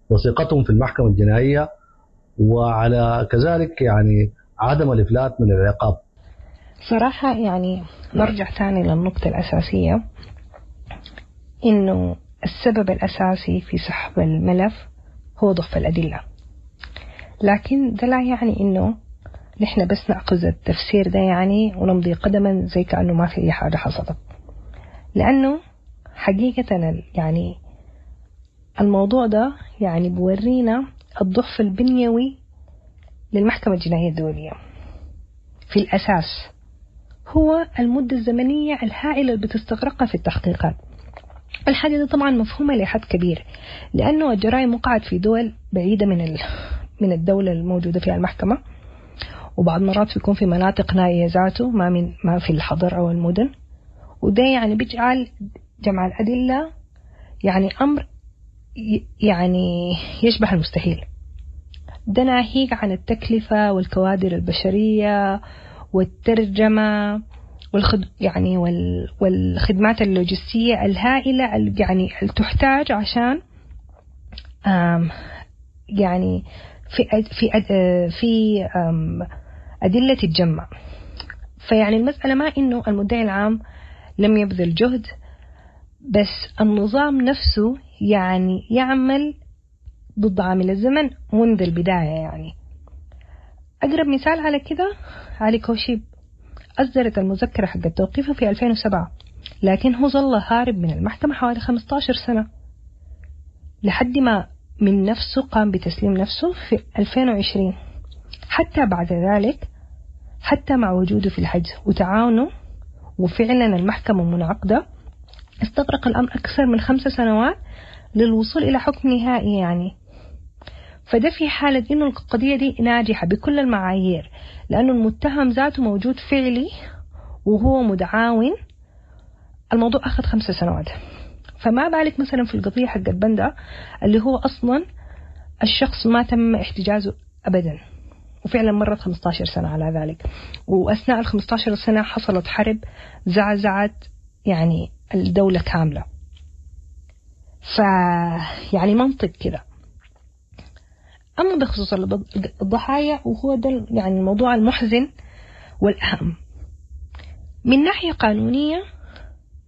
وثقتهم في المحكمة الجنائية، وعلى كذلك يعني عدم الإفلات من العقاب؟ صراحة يعني نرجع تاني للنقطة الأساسية، إنه السبب الأساسي في سحب الملف هو ضعف الأدلة، لكن ده لا يعني إنه نحن بس نأخذ التفسير ده يعني ونمضي قدما زي كأنه ما في أي حاجة حصلت، لأنه حقيقة يعني الموضوع ده يعني بورينا الضعف البنيوي للمحكمة الجنائية الدولية في الأساس، هو المدة الزمنية الهائلة اللي بتستغرقها في التحقيقات. الحاجة دي طبعا مفهومة لحد كبير، لأنه الجرائم وقعت في دول بعيدة من الدولة الموجودة فيها المحكمة، وبعض مرات بيكون في مناطق نائية ذاته ما في الحضر أو المدن، وده يعني بيجعل جمع الأدلة يعني أمر يعني يشبه المستحيل. ده ناهيك عن التكلفة والكوادر البشرية والترجمة يعني والخدمات اللوجستية الهائلة يعني اللي تحتاج عشان يعني في في في أدلة تتجمع. فيعني المسألة ما إنه المدعي العام لم يبذل جهد، بس النظام نفسه يعني يعمل ضد عامل الزمن منذ البداية. يعني أقرب مثال على كده علي كوشيب، أصدرت المذكرة حق توقيفه في 2007، لكن هو ظل هارب من المحكمة حوالي 15 سنة لحد ما من نفسه قام بتسليم نفسه في 2020. حتى بعد ذلك، حتى مع وجوده في الحجز وتعاونه وفعلا المحكمة منعقدة، استغرق الأمر أكثر من 5 سنوات للوصول إلى حكم نهائي. يعني فده في حالة إنه القضية دي ناجحة بكل المعايير، لأنه المتهم ذاته موجود فعلي وهو متعاون. الموضوع أخذ 5 سنوات، فما بالك مثلا في القضية حق البندة اللي هو أصلا الشخص ما تم احتجازه أبدا، وفعلا مرت 15 سنة على ذلك، وأثناء ال 15 سنة حصلت حرب زعزعت يعني الدولة كاملة. فيعني منطق كده. أما بخصوص الضحايا، وهو ده يعني الموضوع المحزن والأهم، من ناحية قانونية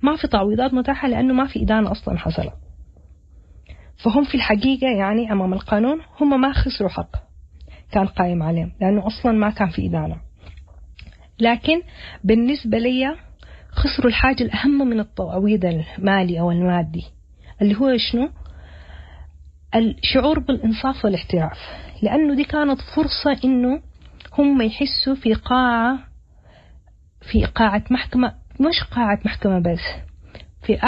ما في تعويضات متاحة لأنه ما في إدانة أصلا حصلت، فهم في الحقيقة يعني أمام القانون هم ما خسروا حق كان قائم عليهم، لأنه أصلا ما كان في إدانة. لكن بالنسبة لي خسروا الحاجة الأهم من التعويض المالي أو المادي، اللي هو شنو؟ الشعور بالإنصاف والاحتراف، لأنه دي كانت فرصة إنه هم يحسوا في قاعة محكمة، مش قاعة محكمة بس، في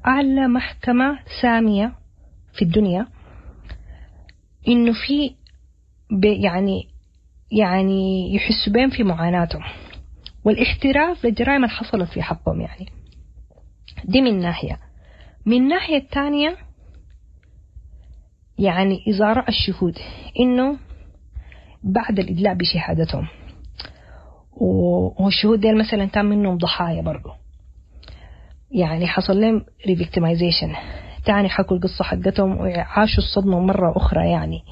أعلى محكمة سامية في الدنيا، إنه في يعني يحسوا بهم في معاناتهم والاحتراف للجرائم اللي حصلت في حقهم. يعني دي من ناحية. من ناحية الثانية يعني إذا رأى الشهود إنه بعد الإدلاء بشهادتهم، والشهود ديل مثلا كان منهم ضحايا برضو، يعني حصل لهم revictimization، تاني حكوا القصة حقتهم وعاشوا الصدمة مرة أخرى. يعني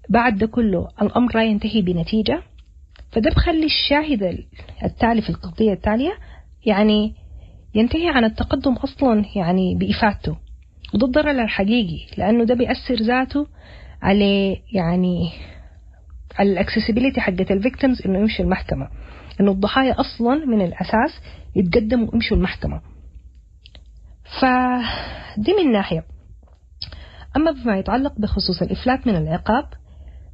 بعد ده كله الأمر لا ينتهي بنتيجة، فده بخلي الشاهد التالي في القضية التالية يعني ينتهي عن التقدم أصلا يعني بإفادته، وده الضرر الحقيقي، لأنه ده بيأثر ذاته على يعني على ال accessibility حقت ال victims إنه يمشوا المحكمة، إنه الضحايا أصلا من الأساس يتقدموا ويمشوا المحكمة. فدي من ناحية. أما بما يتعلق بخصوص الإفلات من العقاب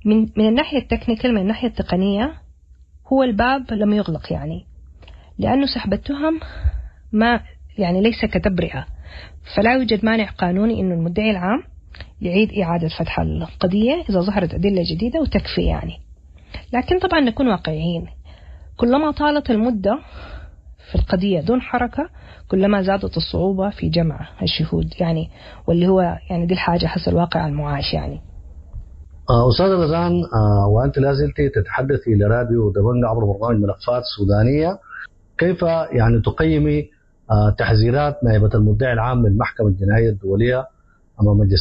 من الناحية ال technical، من الناحية التقنية، هو الباب لم يغلق، يعني لأنه سحب التهم ما يعني ليس كتبرئة، فلا يوجد مانع قانوني إنه المدعي العام يعيد إعادة فتح القضية إذا ظهرت أدلة جديدة وتكفي يعني. لكن طبعا نكون واقعيين، كلما طالت المدة في القضية دون حركة كلما زادت الصعوبة في جمع الشهود، يعني واللي هو يعني دي الحاجة حسب الواقع المعاش يعني. أستاذة رزان، وأنت لا زلت تتحدثي لراديو دبنجا عبر برنامج ملفات سودانية، كيف يعني تقيمي تحذيرات نائبة المدعي العام للمحكمة الجنائية الدولية أمام مجلس